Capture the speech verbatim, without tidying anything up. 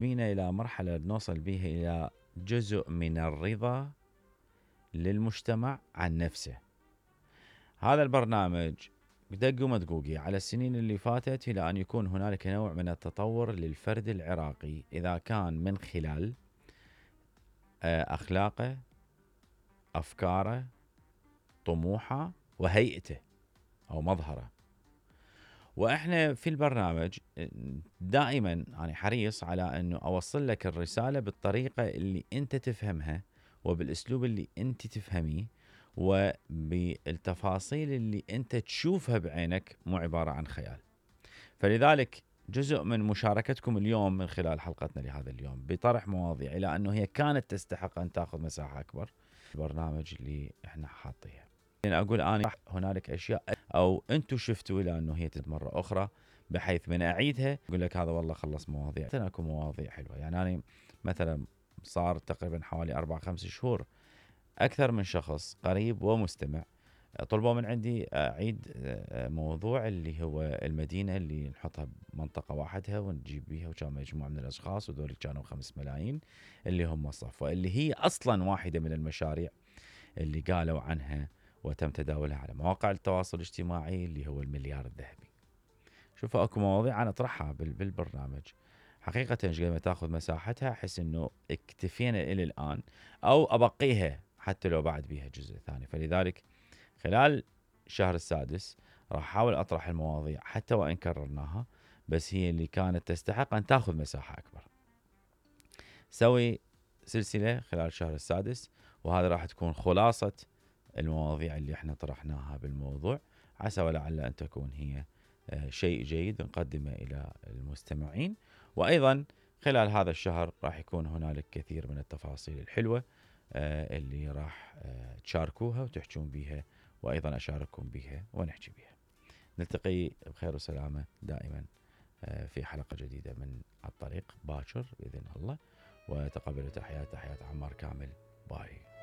بينا إلى مرحلة نوصل بيها إلى جزء من الرضا للمجتمع عن نفسه. هذا البرنامج بدق ومدقوقي على السنين اللي فاتت إلى أن يكون هنالك نوع من التطور للفرد العراقي، إذا كان من خلال أخلاقه، أفكاره، طموحه، وهيئته أو مظهره. وإحنا في البرنامج دائما أنا حريص على أنه أوصل لك الرسالة بالطريقة اللي أنت تفهمها وبالأسلوب اللي أنت تفهميه وبالتفاصيل اللي أنت تشوفها بعينك، مو عبارة عن خيال. فلذلك جزء من مشاركتكم اليوم من خلال حلقتنا لهذا اليوم بطرح مواضيع إلى أنه هي كانت تستحق أن تأخذ مساحة أكبر البرنامج اللي إحنا حاطيها. يعني أقول أنا هنالك أشياء أو أنتم شفتوا إلى أنه هي مرة أخرى، بحيث من أعيدها أقول لك هذا والله خلص مواضيع. أكو مواضيع حلوة. يعني أنا مثلا صار تقريبا حوالي أربع خمس شهور أكثر من شخص قريب ومستمع طلبوا من عندي أعيد موضوع اللي هو المدينة اللي نحطها بمنطقة واحدها ونجيب بيها، وكان مجموعة من الأشخاص وذول كانوا خمس ملايين اللي هم صفوة، اللي هي أصلا واحدة من المشاريع اللي قالوا عنها وتم تداولها على مواقع التواصل الاجتماعي اللي هو المليار الذهبي. شوفوا اكو مواضيع انا اطرحها بالبرنامج حقيقة قد ما تاخذ مساحتها احس انه اكتفينا الى الان، او ابقيها حتى لو بعد بيها جزء ثاني. فلذلك خلال الشهر السادس راح احاول اطرح المواضيع حتى وان كررناها، بس هي اللي كانت تستحق ان تاخذ مساحة اكبر. سوي سلسلة خلال الشهر السادس، وهذا راح تكون خلاصة المواضيع اللي احنا طرحناها بالموضوع، عسى ولعل ان تكون هي شيء جيد نقدمه الى المستمعين. وايضا خلال هذا الشهر راح يكون هنالك كثير من التفاصيل الحلوة اللي راح تشاركوها وتحجون بيها، وايضا اشارككم بيها ونحكي بيها. نلتقي بخير وسلامة دائما في حلقة جديدة من الطريق باكر بإذن الله، وتقبلوا تحيات تحيات عمار كامل. باي.